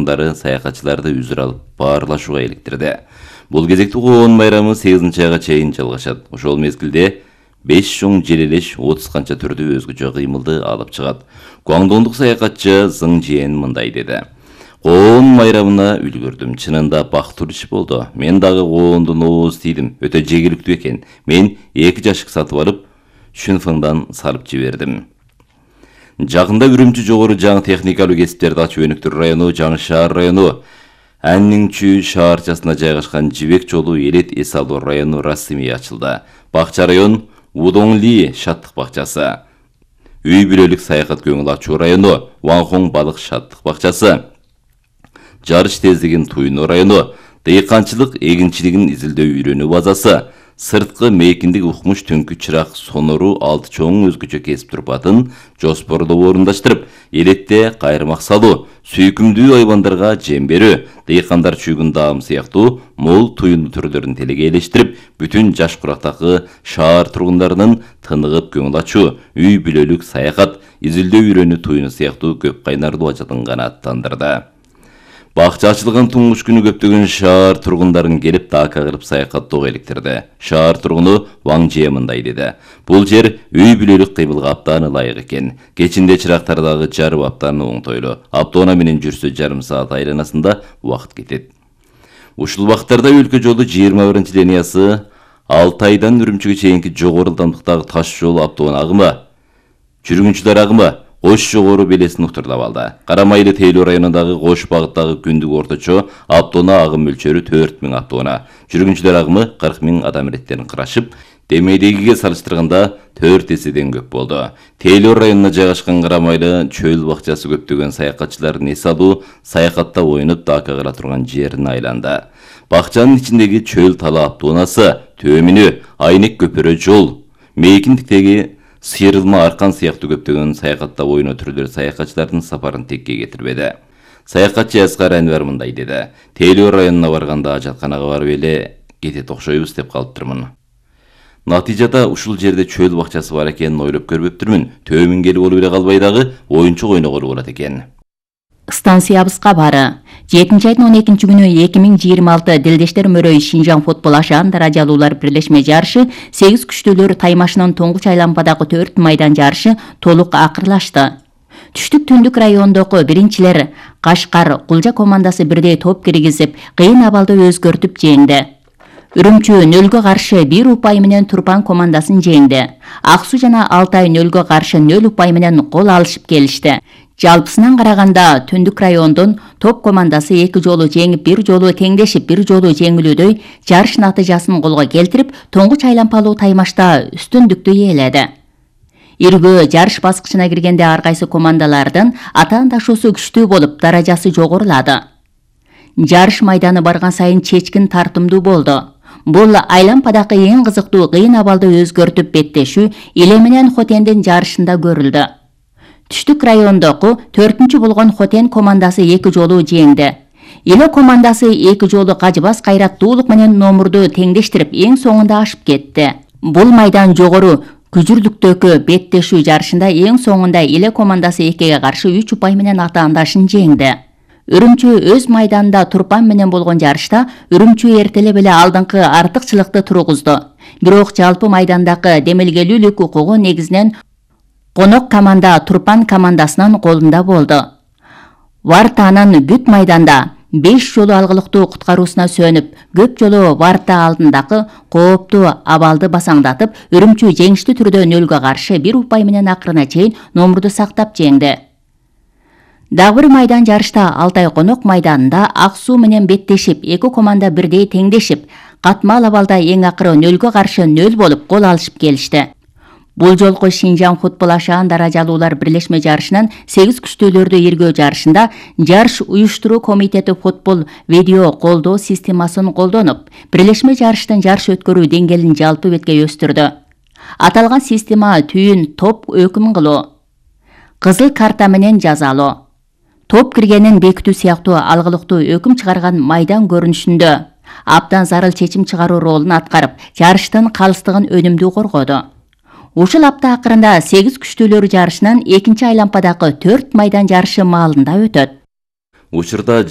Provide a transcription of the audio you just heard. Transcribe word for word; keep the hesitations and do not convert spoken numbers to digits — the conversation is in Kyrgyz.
тургундары саякатчыларды үзүр алып баарлашууга иликтирди. Бул кезекте коон майрамы сегизинчи айга чейин жалгашат. Ошол мезгилде беш чоң желелеш отуз канча түрдүү өзгөчө кыймылды алып чыгат. Гуаңдондук саякатчы Зың Жиен мындай деди. Коон майрамына үлгүрдүм. Чынында бактылуу иш болду. Мен дагы коондун ооз тийдим. Өтө жегиликтүү экен. Мен эки жашык сатып алып, шүнфыңдан салып жибердим. Жакында Үрүмчү жогору жаңы техникалуу кесиптерди ачуу өнүктүр району, Жаңы шаар району, Аннingчүү шаарчасына жайгашкан Жибек жолу Элет эс алуу району расмий ачылды. Бакча район Удоңли шаттык бакчасы, үй бүлөлүк саякат көңүл ачуу району, Ваңхон балык шаттык бакчасы, жарыш тездигин туйноо району, дыйканчылык эгинчилигин изилдөө үйрөнүү базасы, сырткы мейкиндик укмуш түнкү чырак сонору алты чоң өзгөчө кесип турпатын жоспордоо орундаштырып, Элетте кайрымак салуу, сүйкүмдүү айбандарга жем берүү, дыйкандар чүйгүн даам сыяктуу мол туюну түрлөрүн телеге элештирип, бүтүн жаш курактагы шаар тургундарынын тыныгып көңүл ачуу, үй бүлөлүк саякат, изилдөө үйрөнүү туюну сыяктуу көп кайнарлуу ажалын гана аттандырды. Бакча ачылган туңгуш күнү көптөгөн шаар тургундарын келип дака кылып саякаттоого иликтирди. Шаар тургуну Ваң Жие мындай деди. Бул жер үй бүлөлүк кыймылга абдан ылайык экен. Кечинде чырактардагы жарып абдан оңтойлуу. Автоунаа менен жүрсө жарым саат айланасында убакыт кетет. Ушул убакыттарда өлкө жолу жыйырма биринчи линиясы Алтайдан Үрүмчүгө чейинки жогору ылдамдыктагы таш жол автоунаа агымы, жүргүнчүлөр агымы Кош жогору белесин уктурлап алды. Карамайлы Тейлөө районундагы Кош багыттагы күндүк орточо автоунаа агым мөлчөрү төрт миң автоунаа, жүргүнчүлөр агымы кырк миң адам иреттерин карашып, демейдегиге салыштырганда төрт эседен көп болду. Тейлөө районуна жайгашкан Карамайлы чөл бакчасы көптөгөн саякатчылардын эс алуу, саякатта оюнуп дака кыла турган жерине айланды. Бакчанын ичиндеги чөл тала автоунаасы, Төмүнү, Айнек көпөрө жол, мейкиндиктеги Сыйрылма аркан сыяктуу көптөгөн саякатта оюноо түрлөрү саякатчылардын сапарын текке кетирбеди. Саякатчы Аскар Анвар мындай деди. Тейлөө районуна барганда ажатканага барып эле кетет окшойбуз деп калыптырмын. Натыйжада ушул жерде чөл бакчасы бар экенин ойлоп көрбөптүрмүн. Төмүн келип болуп эле калбай дагы оюнчук ойноголу болот экен. Станциябызга бары. жетинчи айдын он экинчи күнү эки миң жыйырма алты Дилдештер мөрөй Шинжаң футбол ашаан даражалуулар бирлешме жарышы сегиз күчтүүлөр таймашынын Тоңгуч айлампадагы төрт майдан жарышы толук акырлашты. Түштүк түндүк райондогу биринчилер Кашкар Кулжа командасы бирдей топ киргизип, кыйын абалды өзгөртүп жеңди. Үрүмчү нөлгө каршы бир упай менен Турпан командасын жеңди. Ак Суу жана Алтай нөлгө каршы нөл упай менен кол алышып келишти. Жалпысынан караганда түндүк райондун топ командасы эки жолу жеңип, бир жолу теңдешип, бир жолу жеңилүүдөй жарыш натыйжасын колго келтирип, Тоңгуч айлампалуу таймашта үстүндүктү ээледи. Иргөө жарыш баскычына киргенде ар кайсы командалардын атаандашуусу күчтүү болуп, даражасы жогорулады. Жарыш майданы барган сайын чечкин тартымдуу болду. Бул айлампадагы эң кызыктуу кыйын абалды өзгөртүп беттешүү Иле менен Хотендин жарышында көрүлдү. Түштүк райондогу төртүнчү болгон Хотен командасы эки жолу жеңди. Иле командасы эки жолу кажыбас кайраттуулук менен номурду теңдештирип, эң соңунда ашып кетти. Бул майдан жогору күжүрлүктөгү беттешүү жарышында эң соңунда Иле командасы экиге каршы үч упай менен атаандашын жеңди. Үрүмчү өз майданында Турпан менен болгон жарышта Үрүмчү эртелеп эле алдыңкы артыкчылыкты тургузду. Бирок жалпы майдандагы демелгелүүлүк укугу негизинен конок команда Турпан командасынын колунда болду. Вартанын бүт майданда беш жолу алгылыктуу куткаруусуна сөнүп, көп жолу Варта алдындагы кооптуу абалды басаңдатып, Үрүмчү жеңиштүү түрдө нөлгө каршы бир упай менен акырына чейин номурду сактап жеңди. Дагы бир майдан жарышта Алтай конок майданында Ак Суу менен беттешип, эки команда бирдей теңдешип, катмал абалда эң акыры нөлгө каршы нөл болуп кол алышып келишти. Бул жолку Шинжаң футбол ашаан даражалуулар бирлешме жарышынын сегиз күчтүүлөрдү иргөө жарышында жарыш уюштуруу комитети футбол видео колдоо системасын колдонуп, бирлешме жарыштын жарыш өткөрүү деңгээлин жалпы бетке өстүрдү. Аталган система түйүн топ өкүм кылуу, кызыл карта менен жазалоо, топ киргенин бекитүү сыяктуу алгылыктуу өкүм чыгарган майдан көрүнүшүндө абдан зарыл чечим чыгаруу ролун аткарып, жарыштын калыстыгын өнүмдүү коргоду. Ушул апта акырында сегиз күчтүүлөр жарышынын экинчи айлампадагы төрт майдан жарышы маалында өтөт. Учурда